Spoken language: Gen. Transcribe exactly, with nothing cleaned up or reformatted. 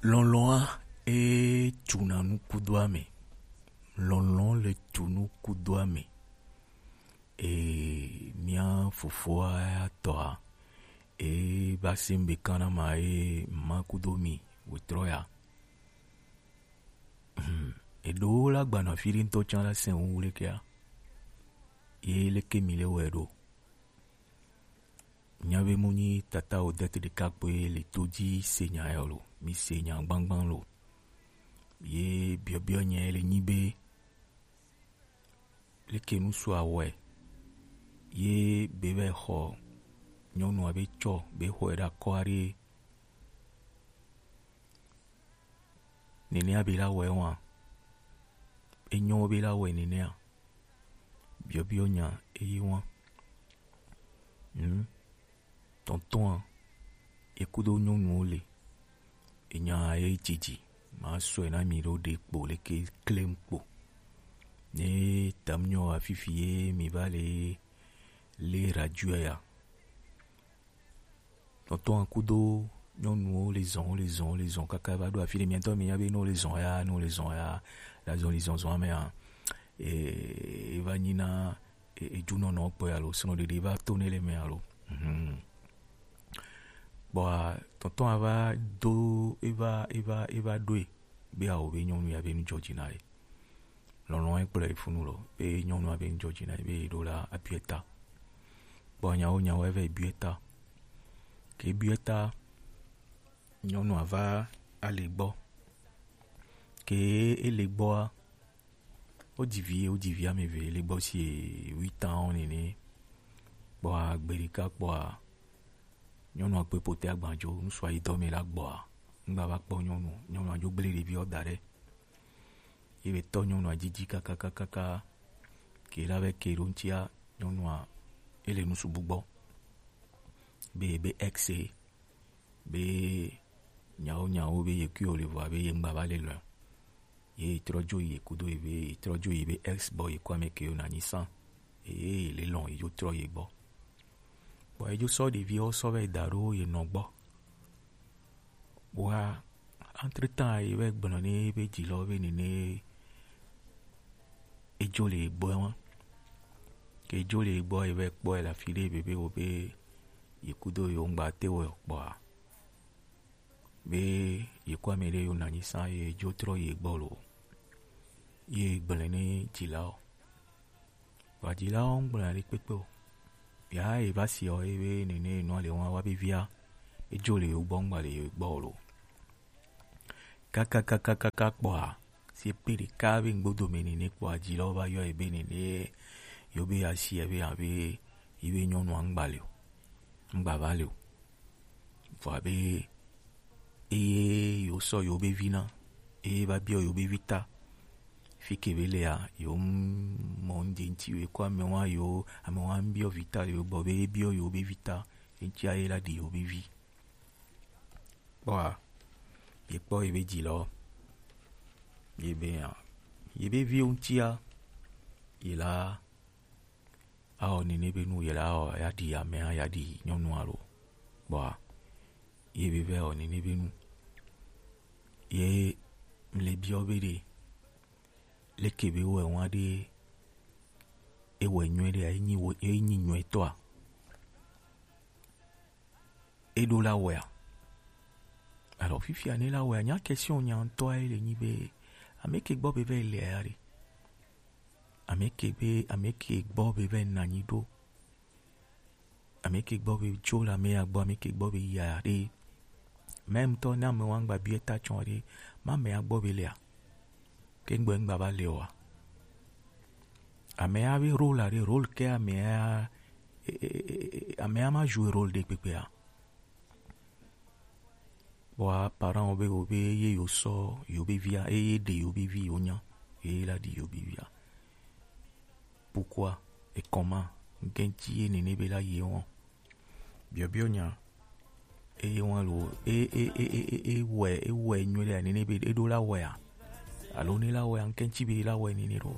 Lɔlɔ̃a e tuna nu kudo ame. Lɔlɔ̃ le tu nu kudo ame. E mia fofoa ya tɔa e ba se be kana ma e ma kudo mi wetrɔ ya. Hmm. Eɖewo la gbana fi ɖe ŋutɔ tsã la sɛn wu lekea. Ye leke mi le wɛ ɖo? Nya be mu nyi tata Odette ɖeka kpoe le to dzi se nya ya lo. Mi se nya gbangban lo. Ye biɔbiɔ nya le nyi be leke nu so awɔe ye be vɛ xɔ nyɔnua be tsɔ be xɔe ɖe akɔ aɖe. Nenea be la wɔe wa? Enyo be la wɔe nenea? Biɔbiɔ nya eye wa? Hmm. Tɔntɔa, ekudo nyɔnuwo le. Enya ye dzidzi. Ma sɔe na mi ɖo ɖe kpo leke klem kpo. Ne tam nyɔ afifi ye mi va le le radio ya. Tɔntɔn kudo nyɔnuwo le zɔn, wo le zɔn, wo le zɔn kaka va ɖo afi ɖe. Miatɔ mi nya be ne wo le zɔn ya, ne wo le zɔn ya, la zɔn li zɔnzɔn ame ya, e, e va nyi na e, ejunɔnɔ kpɔe alo srɔ̃ɖeɖe va to ne le me alo. Mhm. Kpɔa tɔntɔn ava do eva eva eva ɖoe be awo be nyɔnu ya be nu dzɔ dzi na ye. Lɔlɔ̃ ekplɔe funu lo be nyɔnua be nu dzɔ dzi na ye be ɖo la abiɔe ta. Kpɔ nyawo nyawo eve biɔe ta. Ke biɔe ta nyɔnua va ale gbɔ. Ke ele gbɔa, wo dzi vi, wo dzi vi ame eve le gbɔ si huit ans nene. Kpɔa gbe ɖeka kpɔa nyɔnua kpe pote agbandzo, ŋsua yi dɔ me la gbɔa, ŋgba va kpɔ nyɔnu, nyɔnua dzo gble ɖeviwo da ɖe. Ye be tɔ nyɔnua dzidzi kakakakaka, ke la be ke ɖo ŋutia, nyɔnua ele nusubu gbɔ. Be, be ex e, be nyawo nyawo be ye kui o le vɔa be ye ŋgba va le lɔe. Ye trɔ dzo yi kudo ye be, ye trɔ dzo yi be ex gbɔ ye kɔ ame ke yo na nyi san. Ye, ye le lɔn ye dzo trɔ ye gbɔ. Bon, ye dzo sɔ ɖeviwo sɔ vɛ da ɖo ye nɔ gbɔ. Wa entre temps ye vɛ gblɔ ne be dzi lɔ be nene edzo le gbɔ wa. Ke edzo le gbɔ ye vɛ kpɔ ye la fi ɖe be be wo be ye kudo yo ŋgba te wo kpɔa. Be ye kɔ ame ɖe yo na nyi san ye dzo trɔ ye gbɔ lo. Ye gblɔ ne dzilawo. Wa dzilawo ŋgblɔ ɖe kpekpe o. Ya ye va si o ye be nene nɔ le wa wa be via. Edzo le yo gbɔ ŋgba le yo gbɔ lo. Kakakakakaka kpɔa, si pe ɖeka be ŋgbodo me nene kpɔa dzilawo va yɔ ye be nene yo be asi ye be abe yi be nyɔnua ŋgba le o. Ŋgba va le o. Vɔa be eye yo sɔ yo be vi na, eye va biɔ yo be vi ta. Fi ke be lea, yo mɔ ŋdze ŋti yo kɔ ame wa yo, ame wa biɔ vi ta yo gbɔ be biɔ yo be vi ta, ŋti aye la ɖi yo be vi. Kpɔa, ye kpɔ ye be dzi lɔ, ye be ya, ye be viwo ŋtia, ye la awɔ nene be nu ye la awɔ ya ɖi amea ya ɖi nyɔnua lo. Kpɔa, ye be vɛ wɔ nene be nu. Ye mle biɔ be ɖe, leke be wɔ wa ɖe, ewɔ nyuie ɖe, enyi wɔ, enyi nyuie tɔa. Eɖo la wɔea? Alors, fifia ne la wɔea, nya question nya ŋutɔ ye le nyi be, ame ke gbɔ be vɛ le ya ɖe? Ame ke be, ame ke gbɔ be vɛ na nyi ɖo? Ame ke gbɔ be tso le ame ya gbɔ, ame ke gbɔ be ya ɖe? Même tɔ ne ame wa ŋgba biɛ ta tsɔ ɖe, ma ame ya gbɔ be lea? Ke ŋgbɔ ŋgba va le oa? Ame ya be rôle aɖe, rôle ke ame ya, e, e, e, e, ame ya ma joue rôle ɖe kpekpea? Wa parent wo be, wo be ye yo sɔ yo be via, eye ɖe yo be vi yo nya, eye la ɖi yo be via. Pourquoi et comment? Ŋkɛntsi ye nene be la ye wɔn? Biɔbiɔ nya. Eye wɔn lo, e, e, e, e, e, e wɔe, e wɔe nyuie ɖe nene be eɖo la wɔea? Alo ne la wɔea, ŋkɛntsi be la wɔe nene ɖo?